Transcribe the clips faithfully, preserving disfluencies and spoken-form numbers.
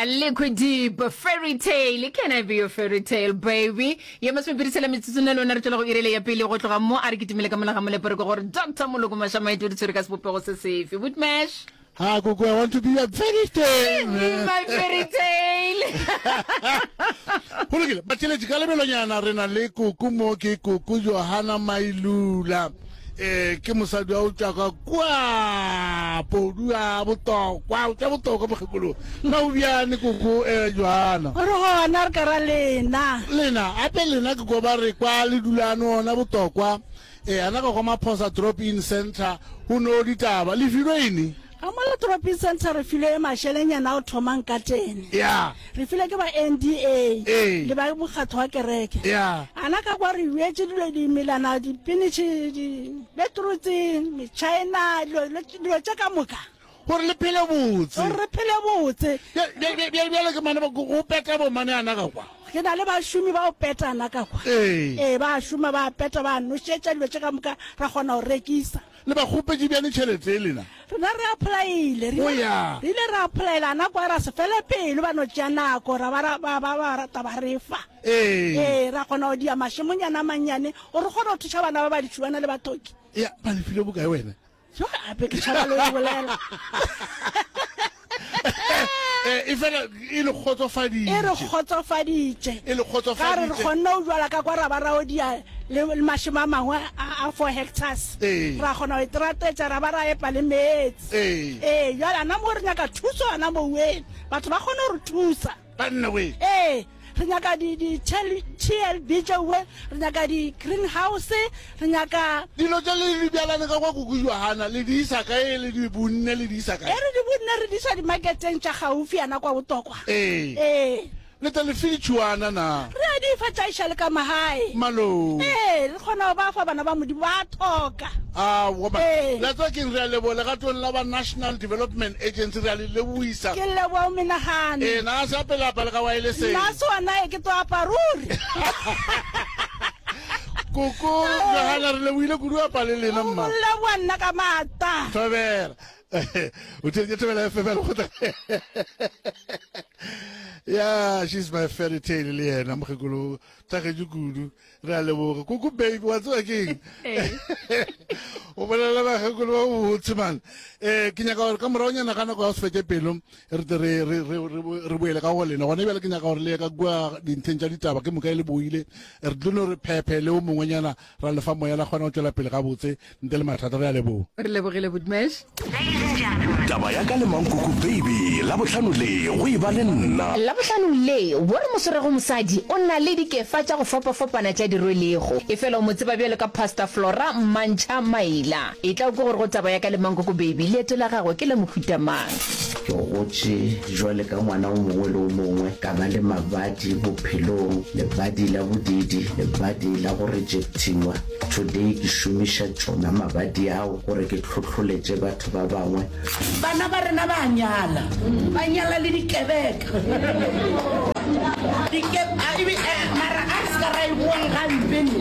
Liquid Deep Fairy Tale Can I be your fairy tale baby ye masomepedi tshela metsotso na lona re tšwela go irele ya pele go tloga mo a re kitimele ka mola ga molepore ke gore Doctor Moloko Mašamaite o di tshwere ka sebopego se sefe Bootmash Ha koko I want to be your fairy tale Be my fairy tale Go lokile batheletši ka lebelonyana re na le koko mo ke koko Johanna Mailula eh ke mosadi wa o tšwa ka kua podu a botokwa o tšwa botokwa mokgekolo na o bjane koko eh Johanna Re gona re ka ra lena. Lena ape lena ke ko ba re kwa le dulane ona botokwa eh ana ka kwa Maphosa drop in center go no ditaba le filwe eng Ka mola drop in center re filwe mašelenyana a o thomang ka tene. Ya. Re filwe ke ba N D A Ee. le ba mokgatho wa kereke. Ya. Ana ka kwa re bjetše dilo dimelana, dipinitšhi, di-beetroots, metšhaena, dilo, dilo tše ka moka. Gore le phele botse. Gore re phele botse. Bjale ke mane go peta bo mane ana ka kwa. Ke na le bašomi ba go peta ana ka kwa. Ee. Ee, ba šoma, ba peta, ba nošetša dilo tše ka moka, ra kgona go rekisa. Le ba kgopetše bjane tšhelete e lena? Rena re applyile. Re O ile, ya. re ile ra applyela ana kwa ra se fele pelo, ba no tšea nako, ra ba ra, ba, ba, ba rata ba re fa. Ee. Ee, ra kgona go dia mašemonyana a mannyane gore re kgone go thuša bana ba ba ditšhuana le bathoki. Ya, ba le file bokae wena? Jo, ape ke tšhaba le go bolela. Eh, e fela e le kgotsofaditše. E re kgotsofaditše. E le kgotsofaditše. Ka re re kgonne go jwala ka kwa ra ba ra odia le, le mašemo a mangwe a, a four hectares. Ee. Ra kgona go iteratetša ra ba ra epa le meetse. Ee. Ee, jwale ana mo re nyaka thuso ana mo weng. Batho ba kgone go re thusa. Banna we. Ee, re nyaka di, di T L B tšeoe, re nyaka di greenhouse, re nyaka Dilo tše le di bjalane ka kwa Koko Johanna, le di isa kae, le di bunne, le di isa kae? E re di bunne re di isa dimarketeng tša gaufi yana kwa Botokwa. Ee. Ee. Le tla le fe ditšhuana na? Re a di fa tša iša le ka magae. Malome. Ee, re kgona go ba fa bana ba Modimo, ba a thoka. Aowa man. Ee. La tseba keng, re a leboga legatong la ba National Development Agency, re a le lebohisa. Ke leboga o menagane. Ee, na se ape lapa le ka waeleseng. Nna se ona e ke tlo apa ruri. Koko Johanna, re lebohile kudu apa le lena mma. Go leboga nna ka maata. Thobela. O theetše Thobela F M ya lekgotla. Yeah, she's my fairy tale le yena mokgekolo thagetše kudu. Re a leboga. Koko baby, wa tseba keng? O bolela bakgekolo ba botse man. Eh, ke nyaka gore ka moragonyana ga nako ya go se fetše pelo re tle re re re re boele ka go lena. Gona bjale ke nyaka gore le ye ka kua dintlheng tša ditaba ke moka e le boile. Re tlo no re phephe le o mongwenyana ra lefa moya la kgona go tšwela pele gabotse ntle le mathata. Re a leboga. Re lebogile Bootmash. Taba ya ka le Mankoko Baby Labohlano le go e ba le nna. Labohlano le, wo re mo swerego mosadi o na le dikefa tša go fapafapana tša di rwelego. Efela o mo tseba bjalo ka Pastor Flora Mmantšha Maila. Etla o kwe gore go taba ya ka le Mankoko Baby leeto la gagwe ke la mohuta mang. Ke gotše jwale ka ngwana o mongwe le o mongwe, ka ba le mabadi bophelong, lebadi la bodiidi, lebadi la go rejectiwa. Today ke šomiša tšona mabadi ao gore ke hlohloletše batho ba bangwe. Bana ba rena ba a nyala, ba nyala le dikebeka. Dike, a, e be, eh, mara a re se ka ra e boang gampe ne,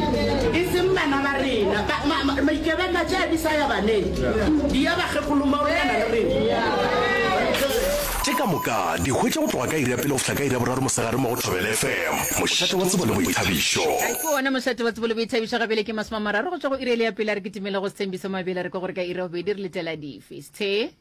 e seng bana ba rena. Ba, ma, ma, maikebeka tše a di sa ya baneng, di ya bakgekolo maolana le rena. Tše ka moka di hwetša go tloga ka iri ya pele go fihla ka iri ya boraro mosegare mo go Thobela F M, mošate wa tsebo le boithabišo. Ke wona mošate wa tsebo le boithabišo. Ga bjale ke masome a mararo go tšwa go iri ele ya pele. A re kitimele go Sethembiso Mabele re kwe gore ka iri ya bobedi re letela dife. Sethe.